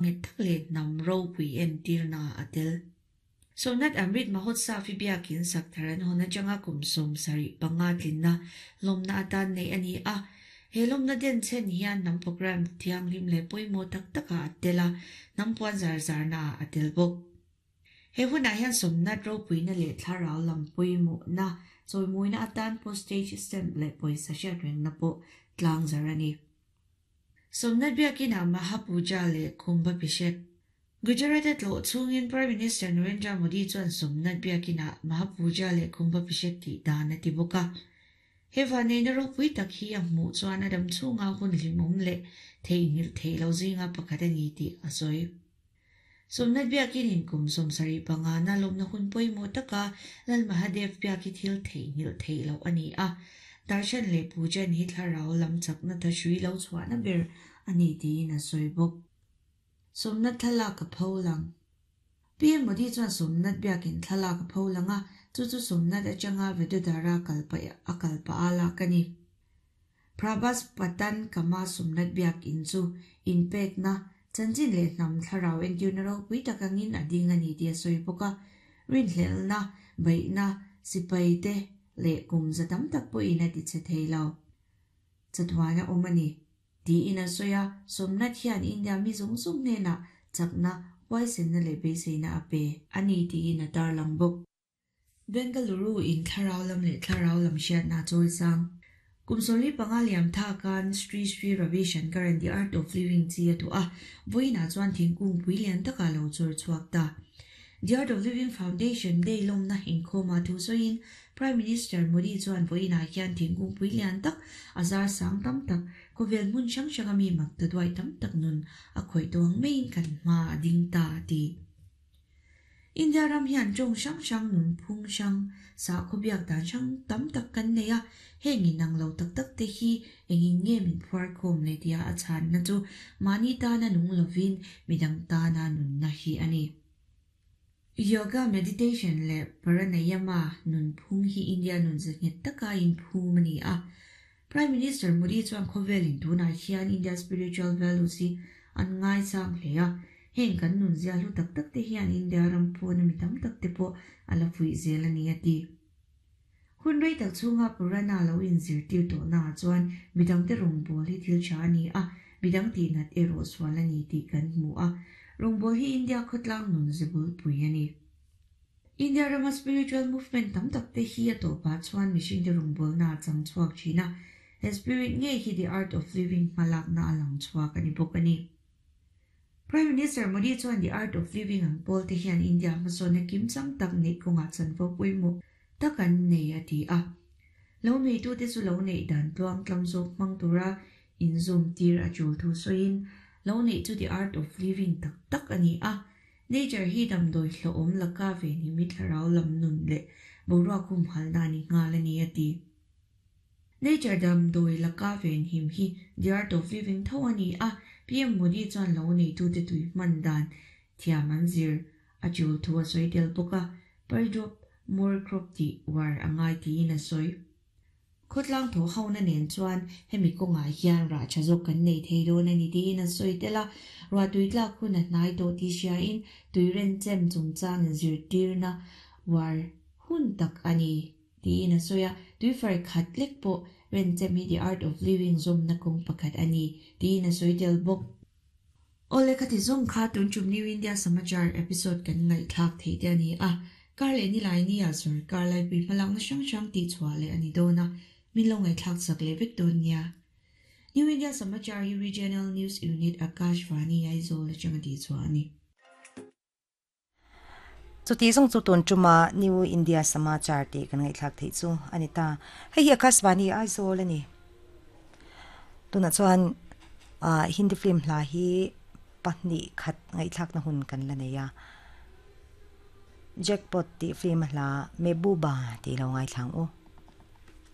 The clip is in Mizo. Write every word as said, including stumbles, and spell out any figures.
Nghet tak leh hnam ropui entirna a tel. Somnath Amrit Mahotsav hi biakin sak thar an hawn atanga kum sawm sarih panga tlinna lawmna atan neih a ni a. He lawmna denchhen hian hnam programme thianghlim leh pawimawh tak takah a tel a, hnam puan zar zarnaah a tel bawk. He hunah hian Somnath ropuina leh thlarau lam pawimawhna chawimawina atan postage stamp leh pawisa hriatrengna pawh tlang zar a ni. Somnath biakinah Mahapuja leh Kumbhabhishek. Gujarat-a tlawh chhungin Prime Minister Narendra Modi chuan Somnath biakinah Mahapuja leh Kumbhabhishek tih dan a ti bawk a. He vanneihna ropui tak hi a hmuh chuan a dam chhunga hun hlimawm leh theihnghilh theih lo zinga pakhat a ni tih a sawi. Somnath biakinin kum sawm sarih pangana lawmna hun pawimawh taka Lal Mahadev biak hi thil theihnghilh theih loh a ni a. Darshan leh Pujan hi thlarau lam chakna thahrui lo chhuahna ber a ni tiin a sawi bawk. Somnath thlalak a pho lang. P M Modi chuan Somnath biakin thlalak a pho lang a, chu chu Somnath atanga Vadodara kalpah a kalpah a lak a ni. Prabhas Patan Kama Somnath biakin chu inpekna chanchin leh hnam thlarau entirna ropui tak angin a ding a ni tih a sawi bawk a. Rinhlelhna, beihna, sipai te leh kum za tam tak pawhin a ti che thei lo. Chatuan a awm a ni. Tiin a sawi a, Somnath hian India mi zawng zawng hnenah chakna, huaisenna leh beiseina a pe a ni tiin a tarlang bawk. Bengaluru in thlarau lam leh thlarau lam hriatna a chawi sang. Kum sawmli panga liam thakan Sri Sri Ravi Shankar-a'n The Art of Living chi a tuah a, vawiinah chuan thingkung pui lian takah lo chawr chhuak ta. The Art of Living Foundation Day lawmna inkhawmah thu sawiin Prime Minister Modi chuan vawiinah hian thingkung pui lian tak a zar sang tam tak, khawvel hmun hrang hranga mi mak ta duai tam tak nun a khawih tawh ang maiin kan hma a ding ta a ti. India ram hian tawng hrang hrang, nunphung hrang, sakhaw biak dan hrang tam tak kan nei a, heng inang lo tak tak te hi engin nge min phuar khawm le tia a chhanna chu mahni tana nung lovin midang tana nunna hi a ni. Yoga, meditation leh pranayama nunphung hi India nun zahnghet taka inphum a ni a. Prime Minister Modi chuan khawvelin tunah hian India spiritual values hi an ngaisang hle a, heng kan nun zia hlu tak tak te hian India ram pawna mi tam tak te pawh a la fuih zel a ni a ti. Hun rei tak chhunga Purana lo inzirtir tawhnaah chuan midangte rawngbâwl hi thil tha a ni a, midang tihnat erawh sual a ni tih kan hmu a. Rawngbâwl hi India khawtlang nun zebulpui a ni. India rama spiritual movement tam tak te hi a tawpah chuan mihringte rawngbâwlna a chang chhuak thin a, he spirit ngei hi The Art of Living hmalakna a lang chhuak a ni bawk a ni. Prime Minister Modi chuan The Art of Living ang pawl te hian India hmasawnna kimchang tak neih kawngah chanvo pawimawh tak an nei a ti a. Lo neitute chu lo neih dan tluang tlam zawk hmang tura inzawm tir a tul thu sawiin lo neih chu The Art of Living tak tak a ni a. Nature hi damdawi hlawhawm laka ve ni mi thlarau lam nun leh boruak humhalna a ni nghal a ni a ti. Nature damdawi laka venhim hi The Art of Living tho a ni a, P M Modi chuan lo neitute tui hman dan thiam an zir a tul thu a sawi tel bawk a, per drop more crop tih uar a ngai tiin a sawi. Khawtlang thaw hona nen chuan hemi kawngah hian rah tha zawk kan nei thei dawn a ni tiin a sawi tel a, ruah tui tlak hun a hnai tawh tih hriain tui renchem chungchang inzirtirna uar hun tak a ni tiin a sawi a, tui far khat lek pawh renchem hi The Art of Living zawmna kawng pakhat a ni tiin a sawi tel bawk. Awle khati zawng kha tun tum New India Samachar episode kan ngaihthlak theih te a ni a, kar leh nilai nia sawrkar laipui hmalakna hrang hrang tih chhuah leh a ni dawn a, min lo ngaihthlak chak leh vek dawn nia. New India Samachar hi Regional News Unit Akashvani Aizawl atanga tih chhuah a ni. Chuti zawng chu tun tuma New India Samachar tih kan ngaihthlak theih chu a ni ta. Hei hi Akashvani Aizawl a ni. Tunah chuan ah Hindi film hla hi pahnih khat ngaihthlak na hun kan la nei a. Jackpot tih film hla Mehbooba tih lo ngaithlang u.